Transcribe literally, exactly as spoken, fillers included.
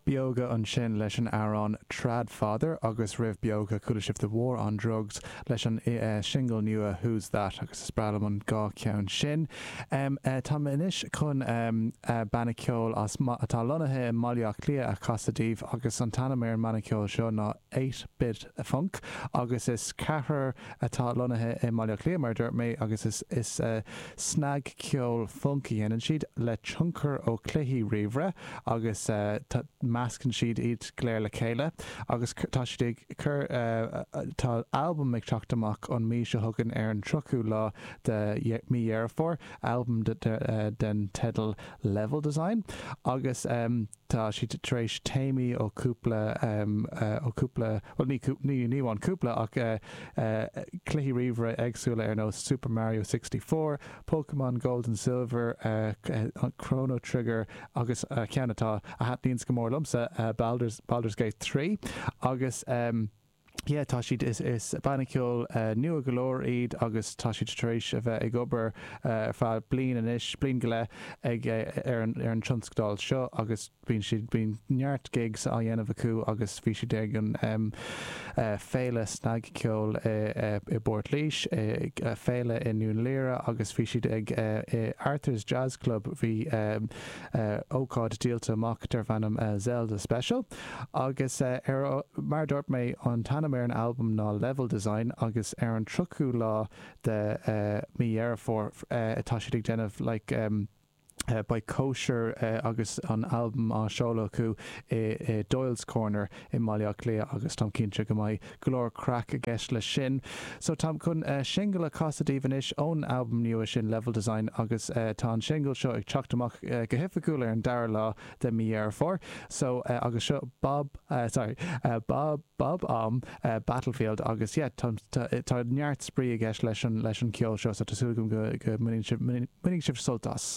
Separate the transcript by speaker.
Speaker 1: Beoga ansin leis an amhrán Tradfather agus roimh Beoga chuala sibh The War on Drugs leis an uh, single nua Who's That agus is breá liom an dhá cheann sin. Um, uh, Tá anois chun um, uh, banna ceoil as atá lonnaithe i mBaile Átha Cliath a chasadh daoibh agus an t-ainm ar an mbanna ceoil seo ná eight-Bit Funk agus is ceathrar atá lonnaithe i mBaile Átha Cliath mar dúirt mé agus is, is uh, snagcheol funk a dhéanann siad le tionchar ó chluichí ríomhaire agus uh, meascann siad iad go léir le chéile agus tá siad ag cur uh, tá album ag teacht amach an mí seo chugainn ar an tríochú lá de mí Dheireadh Fómhair album de, de, uh, den teideal Level Design agus um, tá siad tar éis téamaí ó cúpla um, uh, ó cúpla well, ní ní ní an cúpla ach uh, uh, cluichí ríomhaire éagsúla ar nós Super Mario sixty-four, Pokemon Gold and Silver, uh, uh, Chrono Trigger agus uh, ceann atá a thaitníonns go mór liomsa uh, Baldur's, Baldur's Gate three agus um, Yeah, tá siad is is banna ceoil uh, nua go leor iad agus tá siad tar éis a bheith ag obair uh, feadh bliain anois bliain go leith ag uh, ar an ar an tionscadal seo agus bíonn siad bíonn neart gigs á dhéanamh acu agus bhí siad ag an um, uh, féile snagcheoil i, uh, i bPort Laoise uh, féile i nDún Laoghaire agus bhí siad ag uh, i Arthur's Jazz Club bhí um, uh, ócáid díolta amach darb ainm uh, Zelda Special agus uh, ar mar dúirt mé an t-ainm ar an album ná Level Design agus ar an tríochú lá de uh, mí Dheireadh Fómhair uh, atá siad ag déanamh like, um, Uh, beidh cóisir uh, agus an album á seoladh acu i, i Doyle's Corner i mBaile Átha Cliath agus táim cinnte go mbeidh go leor craic i gceist leis sin. So táim chun uh, single a chasadh daoibh anois ón album nua sin Level Design agus uh, tá an single seo ag teacht amach uh, go hoifigiúil ar an dara lá de mí Dheireadh Fómhair. So uh, agus seo Bob uh, sorry, uh, Bob Bob-omb uh, Battlefield agus yeah, tá tá neart spraoi i gceist leis an leis an ceol seo so tá súil agam go go mbainfidh sibh sult as.